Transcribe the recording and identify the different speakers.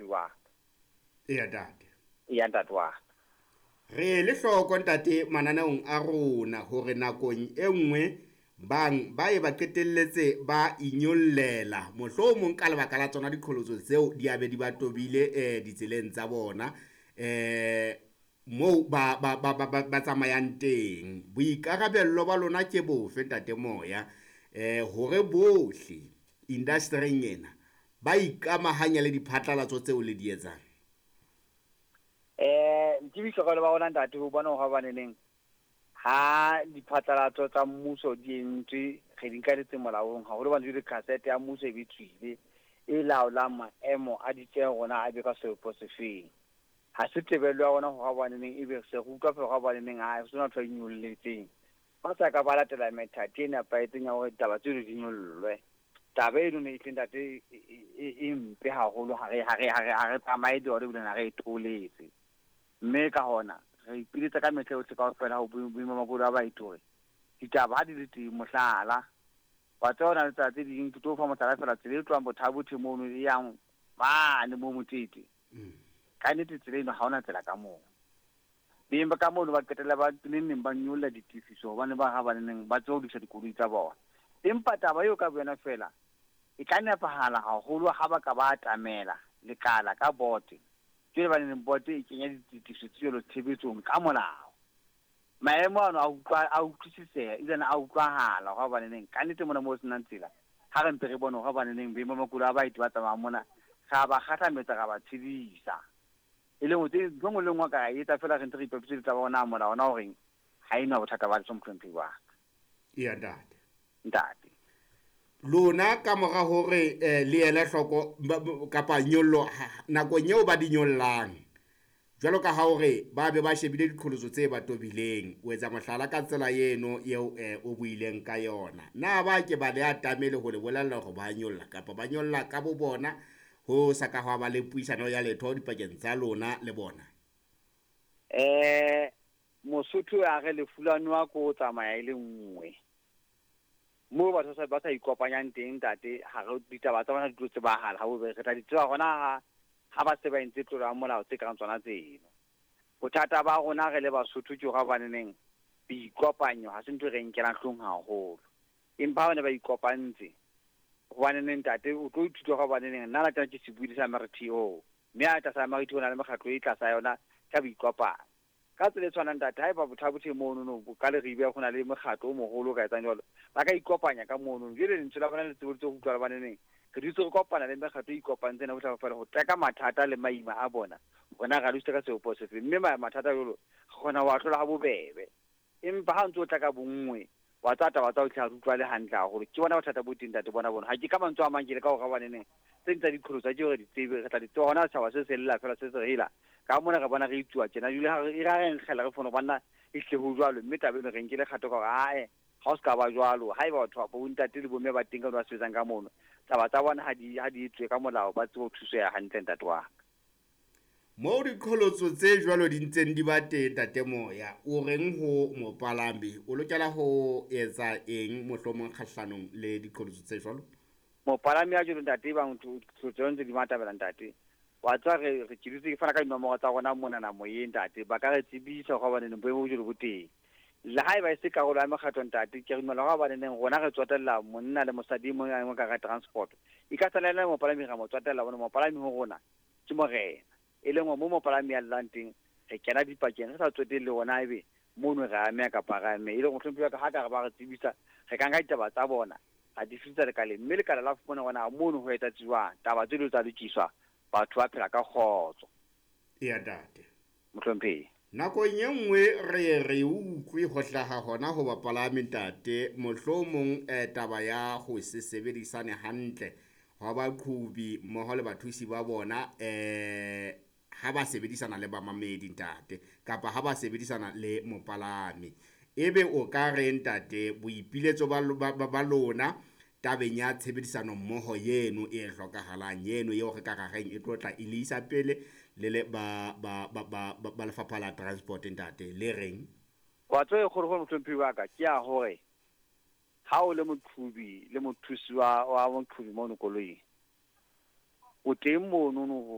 Speaker 1: wa ka.
Speaker 2: Eya ntate.
Speaker 1: Eya ntate wa ka.
Speaker 2: Re ele hloko ntate mananeong a rona hore nakong e nngwe bang ba ye ba qetelletse ba inyollela mohlomong ka lebaka la tsona diqholotso tseo di abe di ba tobile ditseleng tsa bona moo ba ba ba ba ba tsamayang teng. Boikarabello ba lona ke bofe ntate Moya hore bohle indastering ena ba ikamahanya le diphatlalatso tseo le di etsang?
Speaker 1: Ke boikarabelo ba rona ntate ho bona hore hobaneneng ha diphatlalatso tsa mmuso di entswe, re di nka di tse molaong haholo hobane jwale cassette ya mmuso e be tswile e laolang maemo a ditjeho rona a be ka sepo sefeng. Ha se tebello ya rona hore hobaneneng ebe se re utlwa feela hore hobaneneng ha sona ntho e nyolletseng. Ba sa ka ba latela methati e nepahetseng ya hore ditaba tseno di nyollwe. Taba eno ne e tle ntate e mpe haholo, ha re tsamaye le yona ebile ha re e thooletse. Mme ka hona re ipiletsa ka mehla yohle kaofela ho boemo ba makoloi a baeti hore ditaba ha di le teng, mohlala wa tseba hona le tsela tse ding, ke tlo fa mohlala fela, tsela e tlohang Bothabothe mono e yang mane mo Motete. Ka nnete tsela eno ha hona tsela ka moo. Beng ba ka mono ba qetella ba neng neng ba nyolla ditefiso hobane ba ha ba neng ba tseba ho lokisa dikoloi tsa bona. Empa taba eo ka boyona fela e ka nepahala haholo ha ba ka ba atamela lekala ka bote. Jwale ba neng bote e kenya ditefiso tse jwalo tshebetsong ka molao. Maemo ano a utlwa a utlwisiseha ebile a utlwahala hore hobaneneng ka nnete mona moo ho senang tsela, ha re mpe re bone hore hobaneneng beng ba makoloi a baeti ba tsamayang mona re a ba kgahlametsa, ra ba tshedisa. E leng hore tse ntho e nngwe le e nngwe ka e etsa fela re ntse re ipapisitse le taba ya hore na molao ona o reng, ha ena bothata ba letho mohlomphehi wa ka.
Speaker 2: Eya ntate.
Speaker 1: Ntate.
Speaker 2: Lona ka mora hore le ele hloko kapa nyollo nakong eo ba di nyollang, jwalo ka ha hore ba be ba shebile diqholotso tse ba tobileng, o etsa mohlala ka tsela eno eo o buileng ka yona, na ba ke ba le atamele ho le bolella hore ba nyolla kapa ba nyolla ka bo bona ho sa ka hwa ba le puisano ya letho dipakeng tsa lona le bona?
Speaker 1: Mosotho a re lefu la noha ko o tsamaya e le nngwe. Moo batho ba sa ikopanyang teng ntate, ha re ditaba tsa bona di tlo tsebahala ha bobebe. Re tla di tseba hona ha ba se ba entse tlolo ya molao tse kareng tsona tseno. Bothata ba rona re le Basotho ke hore hobaneneng boikopanyo ha se ntho e re nkelang hloohong haholo. Empa ha ba ne ba ikopantse, hobaneneng ntate o tlo ithuta hore hobaneneng nna la tjena ke sebui sa MRTO, mme ha tlasa MRTO ho na le mekgatlo e tlasa yona ka boikopanyo. Ka tsela e tshwanang ntate, haeba Bothabothe mono no ka Leribe ho na le mokgatlo o moholo o ka etsang jwalo, ba ka ikopanya ka mono. Jwale lentswe la bona le tseboditse ho utlwa hobaneneng re dutse re kopana le mekgatlo e ikopantseng ena bohle kaofela ho teka mathata le maima a bona, rona ra lokisa ka sebopeho sefe. Mme mathata jwalo re kgona ho a hlola ha bobebe. Empa ha o ntso o tla ka bonngwe, wa tseba taba tsa ho hle ha di utlwahale hantle haholo. Ke bona bothata bo teng ntate bona bono. Ha ke ka mantswe a mang ke leka hore hobaneneng tse ding tsa diqholotso ha ke hore di tsebe, re tla di tseba hona setjhaba se se lla fela se se re hela. Ka mona re bona re itsuwa tjena jwale ha re e ra re nkgela re fono banna e hle ho jwalo, mme taba eno re nkile kgato ka hore ae ha o se ka ba jwalo. Haeba batho ba bontate le bomme ba teng ka ba sebetsang ka mono, taba tsa bona ha di etswe ka molao, ba tsebe ho thuseha hantle ntate wa ka.
Speaker 2: Moo diqholotso tse jwalo di ntseng di ba teng ntate Moya, o reng ho mopalami? O lokela ho etsa eng mohlomong kgahlanong le diqholotso tse jwalo?
Speaker 1: Mopalami ya jwalo ntate, ebang diqholotso ntse di matabela ntate, wa tseba re ke dutse ke fana ka dinomoro tsa rona monana moyeng ntate, ba ka re tsebisa hore hobaneneng boemo bo jwalo bo teng. Le haeba e se karolo ya mekgatlo ntate, ke re dumela hore hobaneneng rona re tsotella monna le mosadi e mong a mong ka hara transport. E ka sala ena mopalami ra mo tsotella hobane mopalami ho rona ke morena. E leng hore mo mopalami a llang teng, re kena dipakeng re sa tsotelle hore na ebe mono re ameha kapa re ameha. E leng hore mohlomphehi wa ka ha ka re ba re tsebisa, re ka nka ditaba tsa bona ra di fetisa lekaleng, mme lekala la fumana hore na mono ho etsahetse jwang, taba tse dilo tsa lokiswa, batho ba phela ka kgotso.
Speaker 2: Eya ntate.
Speaker 1: Mohlomphehi.
Speaker 2: Nakong e nngwe re ye re utlwe ho hlaha hona ho bapalami ntate, mohlomong taba ya ho se sebedisane hantle hwa baqhobi mmoho le bathusi ba bona ha ba sebedisana le bamamedi ntate, kapa ha ba sebedisana le mopalami. Ebe o ka re ntate boipiletso ba lona tabeng ya tshebedisano mmoho yeno e hlokahalang yeno eo re ka ra reng e tlo tla e le isa pele le le ba lefapha la transport ntate, le reng?
Speaker 1: Wa tseba e kgolokgolo mohlomphehi wa ka ke ya hore ha o le moqhobi le mothusi wa moqhobi mono koloing, o teng mono no